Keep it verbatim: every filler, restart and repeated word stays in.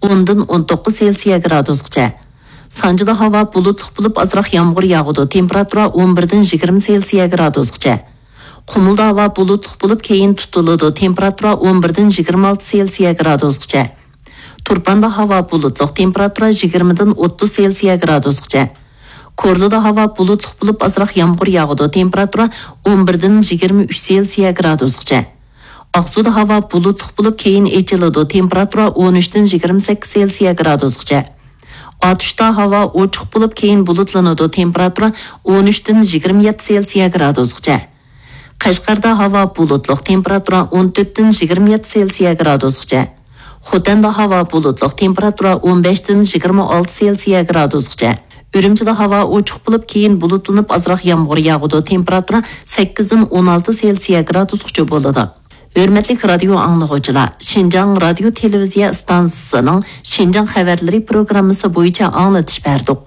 ئوندىن ئون توققۇز سېلسىيە گرادۇسقىچە. سانجىدا ھاۋا بۇلۇتلۇق بولۇپ، ئازراق يامغۇر ياغىدۇ، تېمپېراتۇرا ئون بىردىن يىگىرمە سېلسىيە گرادۇسقىچە. قۇمۇلدا ھاۋا بۇلۇتلۇق بولۇپ، كېيىن تۇتۇلىدۇ، تېمپېراتۇرا ئون بىردىن يىگىرمە ئالتە سېلسىيە گرادۇسقىچە. تۇرپاندا ھاۋا بۇلۇتلۇق، تېمپېراتۇرا يىگىرمىدىن ئوتتۇز سېلسىيە گرادۇسقىچە. كورلىدا ھاۋا بۇلۇتلۇق بولۇپ، ئازراق يامغۇر ياغىدۇ، تېمپېراتۇرا ئون بىردىن يىگىرمە ئۈچ سېلسىيە گرادۇسقىچە. ئاقسۇدا ھاۋا بۇلۇتلۇق بولۇپ، كېيىن ئېچىلىدۇ، تېمپېراتۇرا ئون ئۈچتىن يىگىرمە سەككىز سېلسىيە گرادۇسقىچە. ئاتۇشتا ھاۋا ئوچۇق بولۇپ، كېيىن بۇلۇتلىنىدۇ، تېمپېراتۇرا ئون ئۈچتىن يىگىرمە يەتتە سېلسىيە گرادۇسقىچە. قەشقەردە ھاۋا بۇلۇتلۇق، تېمپېراتۇرا ئون تۆتتىن يىگىرمە يەتتە سېلسىيە گرادۇسقىچە. خوتەندە ھاۋا بۇلۇتلۇق، تېمپېراتۇرا ئون بەشتىن يىگىرمە ئالتە سېلسىيە گرادۇسقىچە. ئۈرۈمچىدە ھاۋا ئوچۇق بولۇپ، كېيىن بۇلۇتلىنىپ ئازراق يامغۇر ياغىدۇ، تېمپېراتۇرا سەككىزدىن ئون ئالتە سېلسىيە گرادۇسقىچە بولىدۇ. ھۆرمەتلىك رادىيو ئاڭلىغۇچىلار، شىنجاڭ رادىيو تېلېۋىزىيە ئىستانسىسىنىڭ شىنجاڭ خەۋەرلىرى پروگراممىسى بويىچە ئاڭلىتىش بەردۇق.